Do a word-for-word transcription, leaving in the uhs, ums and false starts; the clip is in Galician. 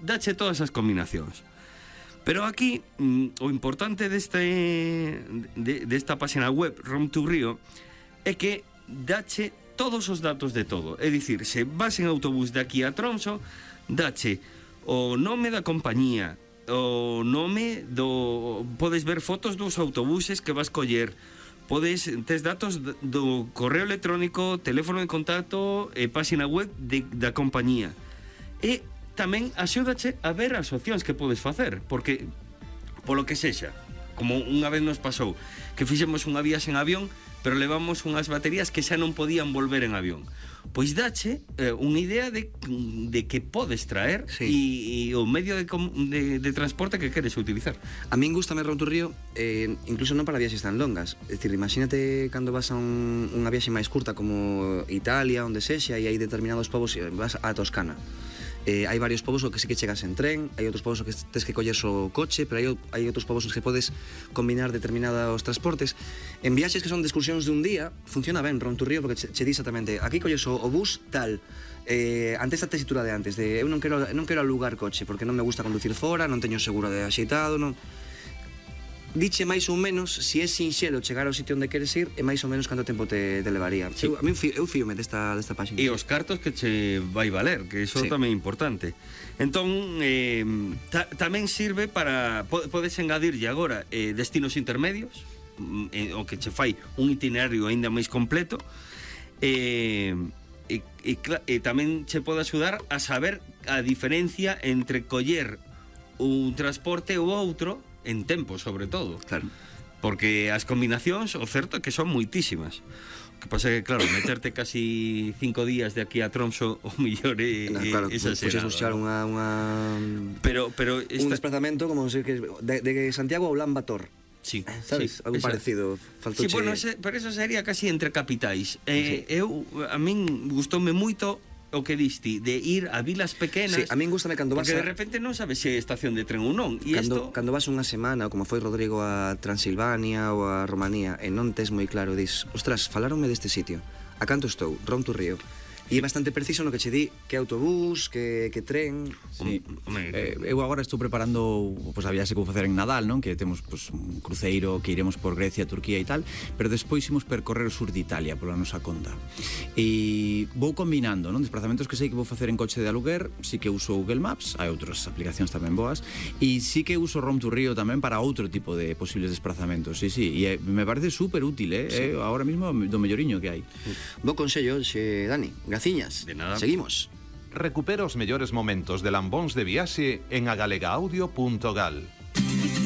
dache todas as combinacións. Pero aquí, o importante deste, de, desta página web, Rom to Rio, é que dache todos os datos de todo. É dicir, se vas en autobús de aquí a Tromsø, dache o nome da compañía, o nome do... Podes ver fotos dos autobuses que vas coller, podes, tes datos do correo electrónico, teléfono de contacto e página web de, da compañía. E tamén axúdache a ver as opcións que podes facer, porque, polo que sexa, como unha vez nos pasou, que fixemos unha viaxe en avión, pero levamos unhas baterías que xa non podían volver en avión. Pois dache eh, unha idea de, de que podes traer e sí. o medio de, de, de transporte que queres utilizar. A min gustame Rom to Rio, eh, incluso non para viaxes tan longas. É dicir, imagínate cando vas a un, unha viaxe máis curta como Italia, onde sexa, e hai determinados povos, e vas a Toscana. Eh, hai varios povos o que sí que chegas en tren, hai outros povos o que tes que coller o coche, pero hai, hai outros povos os que podes combinar determinados transportes. En viaxes que son de excursións de un día, funciona ben Rom to Rio, porque che, che di exactamente, aquí colles o, o bus tal, eh, ante esta tesitura de antes, de eu non quero, non quero alugar coche, porque non me gusta conducir fora, non teño seguro de axeitado, non... Diche máis ou menos, se é sinxelo chegar ao sitio onde queres ir, e máis ou menos canto tempo te, te levaría. Sí. Eu, a mí eu fíome desta, desta página. E os cartos que che vai valer, que iso sí. tamén é importante. Entón, eh, ta, tamén sirve para... Podes engadirlle agora eh, destinos intermedios, eh, o que che fai un itinerario aínda máis completo, eh, e, e, e tamén che pode axudar a saber a diferencia entre coller un transporte ou outro, en tempo, sobre todo. Claro. Porque as combinacións, o certo é que son moitísimas. O que pasa é que, claro, meterte casi cinco días de aquí a Tromsø, o mellor é no, claro, exagerado. Puxes buscar unha, unha... Pero, pero esta... un desplazamento como se que de, de Santiago a Ulan Bator. Sí, sabes? Sí, algo esa... parecido. Sí, bueno, ese, pero eso sería casi entre capitais. Eh, sí. Eu, a min gustoume moito o que diste, de ir a vilas pequenas. Sí, a min gustame cando vas porque a... de repente non sabes se é estación de tren ou non. E cando, esto... cando vas unha semana, como foi Rodrigo a Transilvania ou a Romanía, e non tes moi claro, dis, ostras, falaronme deste sitio, a canto estou, Rom to Rio. E é bastante preciso no que che di que autobús, que, que tren. Sí. Eh, eu agora estou preparando pues, a viaxe que vou facer en Nadal, non? Que temos pues, un cruceiro que iremos por Grecia, Turquía e tal, pero despois imos percorrer o sur de Italia pola nosa conta. E vou combinando, non? Desplazamentos que sei que vou facer en coche de aluguer, sí que uso Google Maps, hai outras aplicacións tamén boas, e sí que uso Rom to Rio tamén para outro tipo de posibles desplazamentos, sí, sí, e me parece super útil, eh? Sí. Eh, ahora mismo do melloriño que hai. Bo consello, xe, Dani. Graciñas. De nada. Seguimos. Recupera os mellores momentos de Lambóns de Viaxe en agalega audio punto gal.